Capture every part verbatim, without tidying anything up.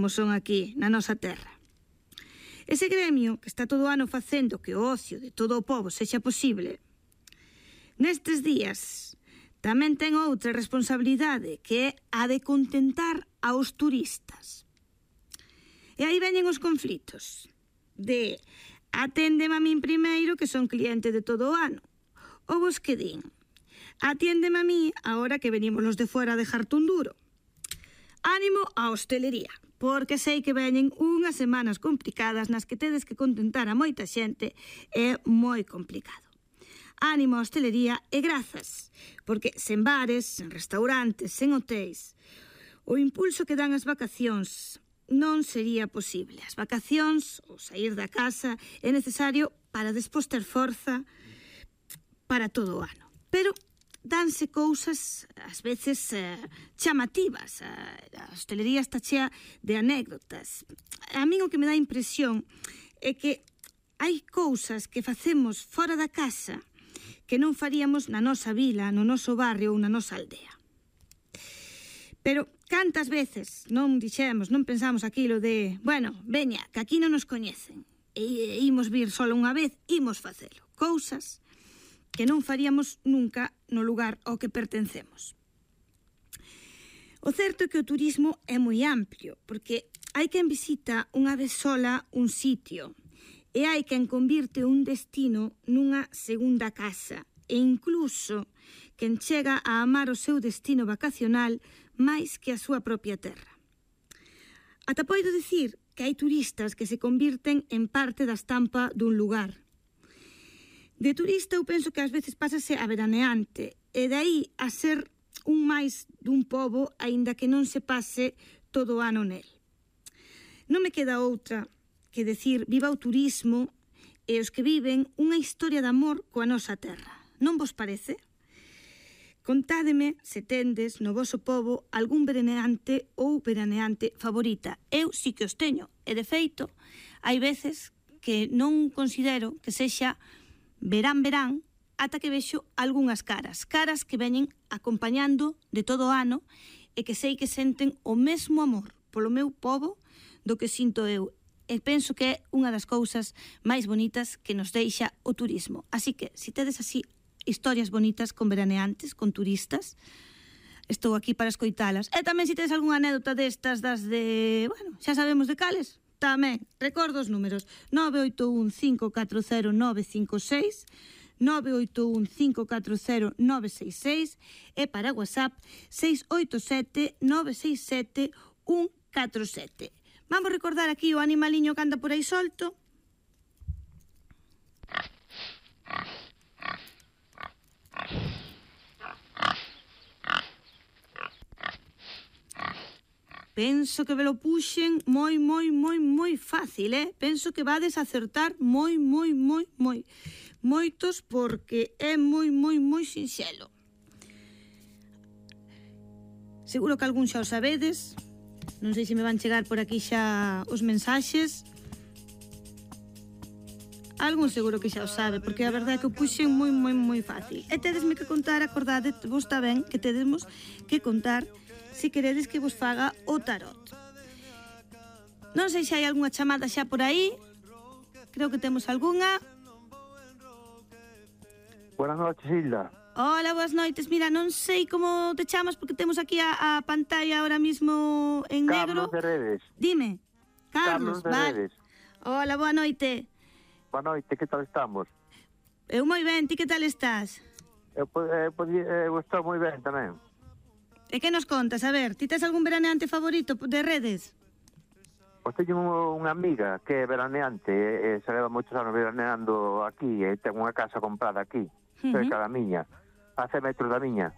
como son aquí, na nosa terra. Ese gremio que está todo o ano facendo que o ocio de todo o pobo sexa posible, nestes días tamén ten outra responsabilidade, que é a de contentar aos turistas. E aí veñen os conflitos de aténdeme a min primeiro, que son cliente de todo o ano, ou vos que din, atiéndeme a mí agora que venimos los de fora a dejarte un duro. Ánimo á hostelería, porque sei que veñen unhas semanas complicadas nas que tedes que contentar a moita xente, é moi complicado. Ánimo á hostelería e grazas, porque sen bares, sen restaurantes, sen hotéis, o impulso que dan as vacacións non sería posible. As vacacións, ou sair da casa, é necesario para despois ter forza para todo o ano. Pero danse cousas, ás veces, eh, chamativas. A hostelería está chea de anécdotas. A min o que me dá impresión é que hai cousas que facemos fora da casa que non faríamos na nosa vila, no noso barrio ou na nosa aldea. Pero cantas veces non dixemos, non pensamos aquilo de, bueno, veña, que aquí non nos coñecen, e imos vir solo unha vez, imos facelo. Cousas que non faríamos nunca no lugar ao que pertencemos. O certo é que o turismo é moi amplio, porque hai quen visita unha vez sola un sitio, e hai quen convirte un destino nunha segunda casa, e incluso quen chega a amar o seu destino vacacional máis que a súa propia terra. Ata poido dicir que hai turistas que se convirten en parte da estampa dun lugar. De turista eu penso que ás veces pásase a veraneante, e de aí a ser un máis dun pobo, aínda que non se pase todo o ano nel. Non me queda outra que decir viva o turismo e os que viven unha historia de amor coa nosa terra. Non vos parece? Contádeme se tendes no voso pobo algún veraneante ou veraneante favorita. Eu sí que os teño, e de feito, hai veces que non considero que sexa verán-verán ata que vexo algunhas caras, caras que veñen acompañando de todo o ano e que sei que senten o mesmo amor polo meu pobo do que sinto eu. E penso que é unha das cousas máis bonitas que nos deixa o turismo. Así que, se tedes así historias bonitas con veraneantes, con turistas, estou aquí para escoitalas. E tamén se tedes algunha anécdota destas, das de, bueno, xa sabemos de cales, tamén, recordo os números, nove oito un cinco catro cero nove cinco seis, nove oito un cinco catro cero nove seis seis e para WhatsApp seis oito sete nove seis sete un catro sete. Vamos recordar aquí o animaliño que anda por aí solto. Penso que ve lo puxen moi, moi, moi, moi fácil, eh? Penso que vades a acertar moi, moi, moi, moi. Moitos porque é moi, moi, moi sinxelo. Seguro que algún xa o sabedes. Non sei se me van chegar por aquí xa os mensaxes. Algún seguro que xa o sabe, porque a verdade é que o puxen moi, moi, moi fácil. E tedesme que contar, acordade, vos está ben que tedemos que contar se queredes que vos faga o tarot. Non sei se hai algunha chamada xa por aí. Creo que temos algunha. Buenas noches, Hilda. Hola, boas noites. Mira, non sei como te chamas porque temos aquí a, a pantalla ahora mismo en negro. Carlos de Redes. Dime. Carlos, Carlos de vale. Redes. Hola, boa noite. Boa noite, que tal estamos? Eu moi ben, ti que tal estás? Eu, eu, eu estou moi ben tamén. E que nos contas? A ver, ti tes algún veraneante favorito de Redes? Pois teño unha amiga que é veraneante e, e se leva moitos anos veraneando aquí e ten unha casa comprada aquí, uh-huh. cerca da miña, a cen metros da miña,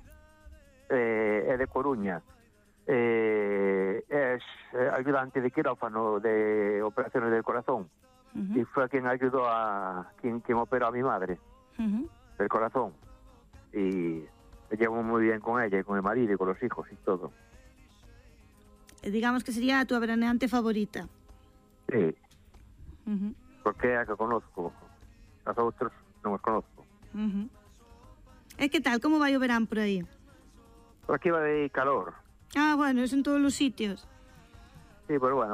e, é de Coruña. E, é ayudante de quirófano de operaciones del corazón. Uh-huh. Y fue quien ayudó a quien, quien operó a mi madre uh-huh. del corazón, y me llevo muy bien con ella y con el marido y con los hijos y todo. Digamos que sería tu veraneante favorita. Sí, uh-huh. porque é a que conozco, as outros non os conozco. Uh-huh. E que tal, como vai o verán por aí? Por aquí vai calor. Ah, bueno, es en todos los sitios. Sí, pero bueno,